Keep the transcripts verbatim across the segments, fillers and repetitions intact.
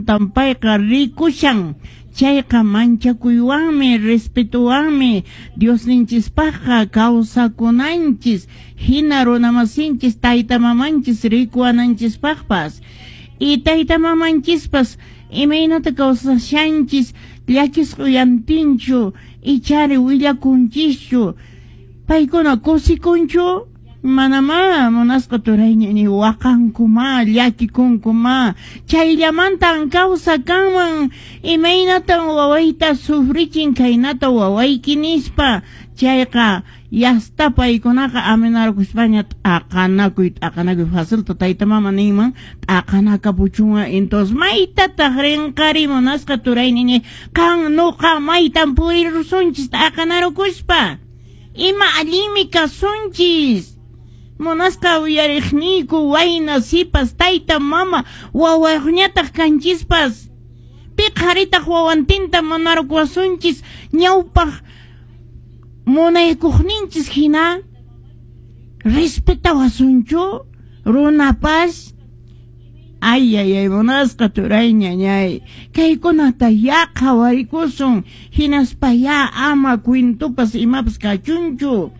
Llapantan payqa rikushan. Chayqa manchakuywanmi, respetuwanmi Diosninchispaqqa kawsakunanchis, hina runamasinchis tayta mamanchis rikuwananchispaqpas. Y tayta mamanchispas imaynata kawsashanchis llakisqa uyantinchu ichari willakunchischu, paykuna kusikunchu? Manamá munasqa turayña waqankuma, llakikunkuma, chayllamantan kawsa kanman imaynatan wawayta sufrichin khaynata wawayki nispa. Chayqa yasta paykunaqa amenarkuspaña t'aqanakuy t'aqanakuy facilta tayta mama ninman t'aqanakapuchunqa. Entonces maytataq rinqari munasqa turayña qan nuqa maytan purirusunchis t'aqanarukuspa, ima allinmi kasunchis. Munasqa uyariqniyku wayna sipas tayta mama wawayuqñataq kanchispas, pi qharitaq wawantinta munarukuwasunchis ñawpaq munaykuqninchis hina respetawasunchu runapas. Ay, ay, ay, munasqa turay ñañay, kaykunata ya qhawarikusun, hinaspa ya ama cuentopas imapas kachunchu.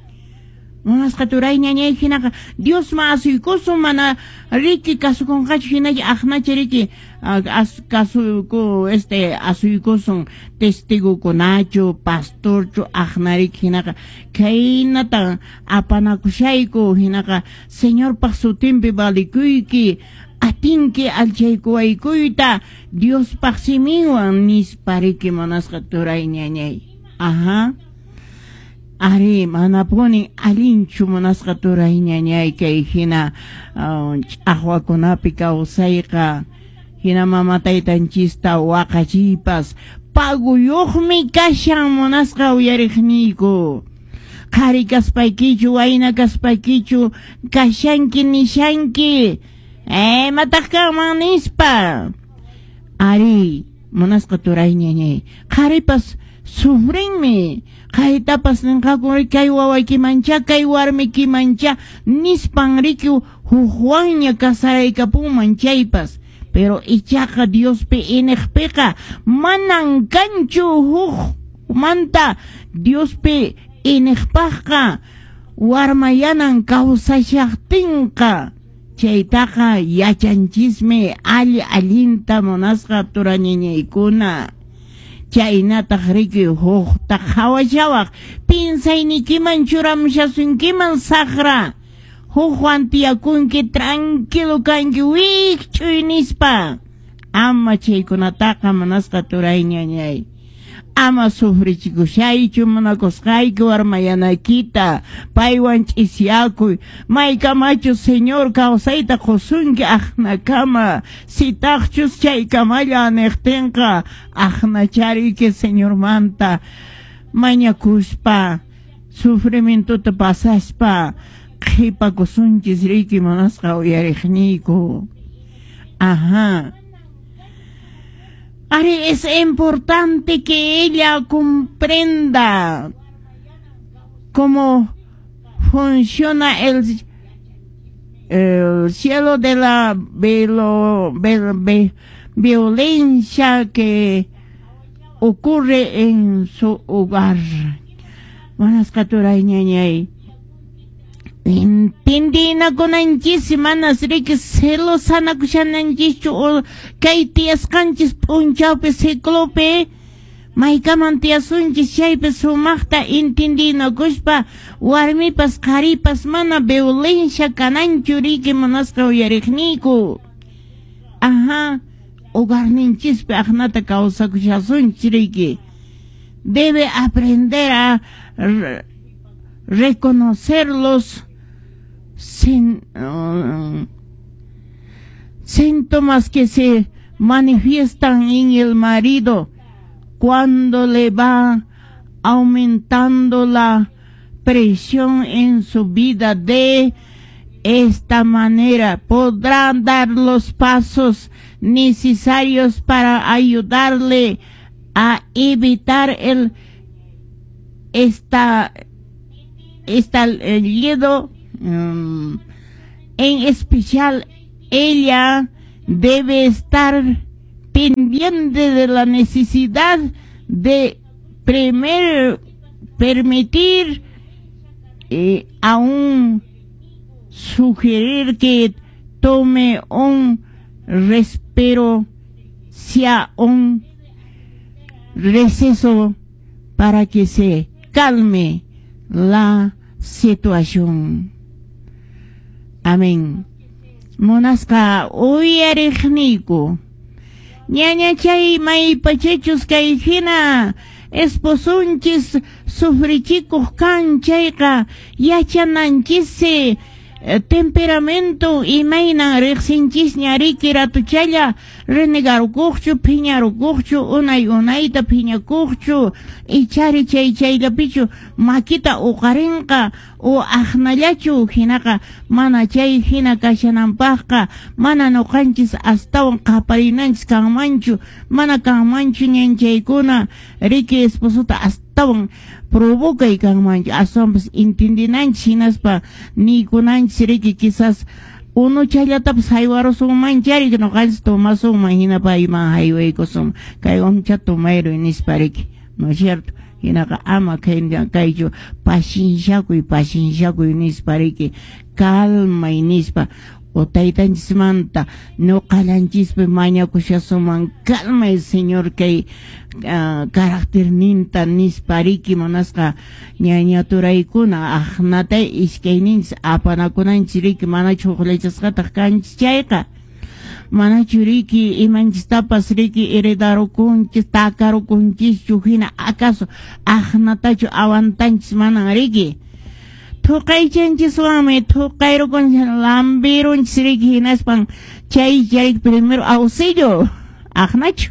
Munasqa turay ñañay, hinaqa Diosman asuykusun, mana riki kasukunqachu hinalla aqnacha riki as, kasuku este asuykusun testigukunachu pastorchu aqnariki hinaqa khaynata apanakushayku hinaqa Señorpaq sutinpi valikuyki atinki alchaykuwaykuyta Diospaq siminwan nispa riki munasqa turay ñañay. Ajá. Ari, manapuni allinchu munasqa turay ñañay kay hina ch'aqwakunapi kawsayqa, hina mama taytanchista waqachiypas paguyuqmi kashan munasqa uyariqniyku. Qhari kaspaykichu wayna kaspaykichu kashanki nishanki imataq kanman nispa. Ari, munasqa turay ñañay, qharipas sufrinmi, qharitapas ninqaku kay wawaykimancha kay warmikimancha nispan riki hukwanña kasaraykapunman chaypas, pero ichaqa Diospi iniqpiqa manan kanchu hukmanta Diospi iniqpaqqa warmayanan kawsashaqtinqa. Chaytaqa yachanchismi alli allinta munasqa turañañaykuna. Chaynataq riki hukta qhawashawaq pinsaynikiman churamushasunkiman saqra hukwan tiyakunki tranquilo kanki wikch'uy nispa. Ama chaykunataqa munasqa turay ñañay, ama sufrichikushaychu munakusqayki warmayanaykita paywan ch'isyakuy maykamachu Señor kawsayta qusunki aqnakama, sitaqchus chaykamalla niqtinqa aqnachariki Señormanta mañakuspa sufrimientuta pasaspa qhipakusunchis riki munasqa uyariqniyku. Ajá. Ari, es importante que ella comprenda cómo funciona el, el cielo de la velo, ve, ve, violencia que ocurre en su hogar. Munasqa turay ñañay, entendinakunanchis manas riki celosanakushananchischu o kay tiyasqanchis p'unchawpi ciclopi maykaman tiyasunchis chaypi sumaqta entendinakuspa warmipas qharipas mana violencia kananchu riki munasqa uyariqniyku. Ajá, hogarninchispi aqnata kawsakushasunchis riki. Debe aprender a reconocer los sin, uh, síntomas que se manifiestan en el marido cuando le va aumentando la presión en su vida. De esta manera podrá dar los pasos necesarios para ayudarle a evitar el esta estallido. Um, en especial ella debe estar Pendiente de la necesidad de primer permitir eh, aún sugerir que tome un respiro, sea un receso para que se calme la situación. Amén. Munasqa uyariqniyku, ñañachay maypachachus kay hina esposunchis sufrichikuq kan chayqa yachananchis temperamento imaynan riqsinchisña riki ratuchalla renegarukuqchu phiñarukuqchu unay unayta phiñakuqchu ichari chay chayllapichu makita uqarinqa o aqnallachu hinaqa mana chay hina kashananpaqqa mana nuqanchis astawan qaparinanchis kanmanchu mana kanmanchu ñanchaykuna riki esposota astawan provocay kanmanchu aswanpas entendinanchis hinaspa niykunanchis riki quizás unuchallatapas haywarusunmanchari nuqanchis tomasunman hina payman haywaykusun kay unucha tomayruy nispa riki, ¿no es cierto? Hinaqa ama kaychu pacienciakuy pacienciakuy nispa riki calmay nispa o taytanchismanta nuqallanchispi mañakushasuman calmay Señor kay uh, carácterninta nispa riki munasqa ñañaturaykuna aqnata iskayninchis apanakunanchis riki manachu huqllachasqataq kanchis chayqa manachu riki imanchistapas riki heredarukunchis takarukunchischu hina acaso aqnatachu aguantanchis manan riki thuqaychanchiswanmi thuqayrukunchis lambirunchis riki hinaspan chay chay primero auxilio aqnachu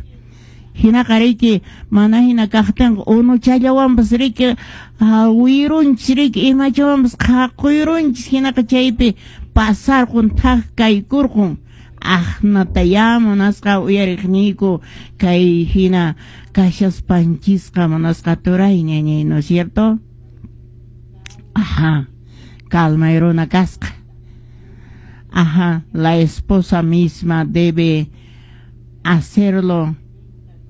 hinaqa riki mana hina kaqtinqa unuchallawanpas riki hawirunchis riki imachawanpas qhaquyunchis hinaqa chaypi pasarqun thak kaykurqun aqnataya munasqa uyariqniyku kay hina kashaspanchisqa munasqa turay ñañay, ¿no es cierto? Ajá, calma runa kasqa. Ajá, la esposa misma debe hacerlo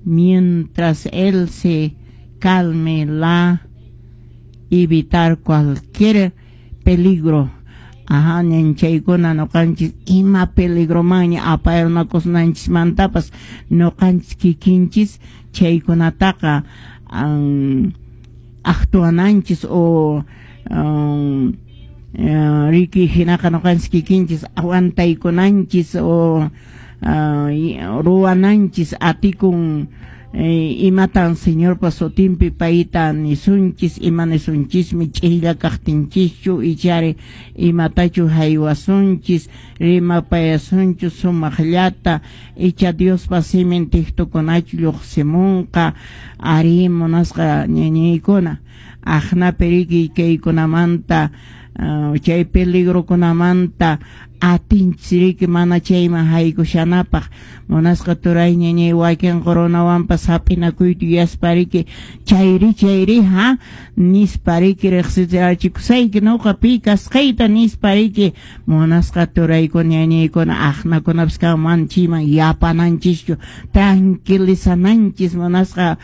mientras él se calme la evitar cualquier peligro. Ajá, ñanchaykuna nuqanchis ima peligromanña apayarnakusnanchismantapas nuqanchis kikinchis chaykunataqa um, actuananchis o um, uh, riki hinaqa nuqanchis kikinchis aguantaykunanchis o uh, ruwananchis atikun eh, imatan Señorpa sutinpi payta nisunchis ima nisunchismi ch'illa kaqtinchischu ichari imatachu haywasunchis rimapayasunchu sumaqllata icha Diospa simin tiktukunachu lluqsimunqa ari munasqa ñañaykuna aqnapi riki kaykunamanta uh, chay peligrokunamanta atinchis riki mana chayman haykushanapaq munasqa turay ñañay wakin coronawanpas hap'inakuyta yuyaspa riki chayri chayri ha nispa riki riqsichikusayki nuqa pi kasqayta nispa riki munasqa turaykuna ñañaykuna aqnakunapas kanman chayman yapananchischu tranquilizananchis munasqa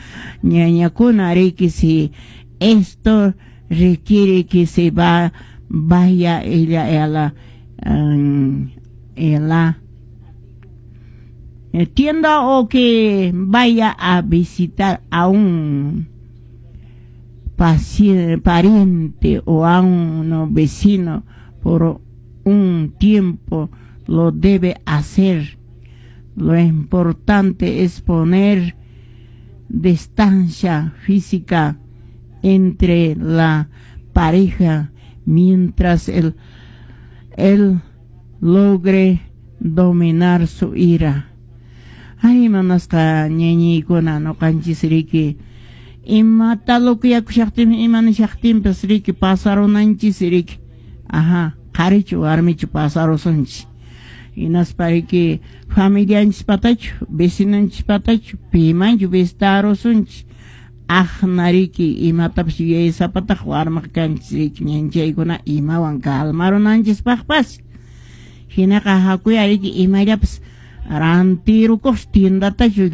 ñañakuna riki si esto requiere que se va vaya ella a la um, en la tienda o que vaya a visitar a un paciente, pariente o a un vecino por un tiempo, lo debe hacer. Lo importante es poner distancia física entre la pareja mientras él, él logre dominar su ira. Ay, manasqa ñañaykuna nuqanchis riki imata lokuyakushaqtinmi ima nishaqtinpas riki pasarunanchis riki ajá qharichu warmichu pasarusunchis hinaspa riki familianchispatachu vecinanchispatachu pimanchu visitarusunchis aqna riki imatapas yuyaysapataq warmaq kanchis riki ñanchaykuna imawan calmarunanchispaqpas hinaqa hakuya riki imallapas Rantirukuq tiendatachu.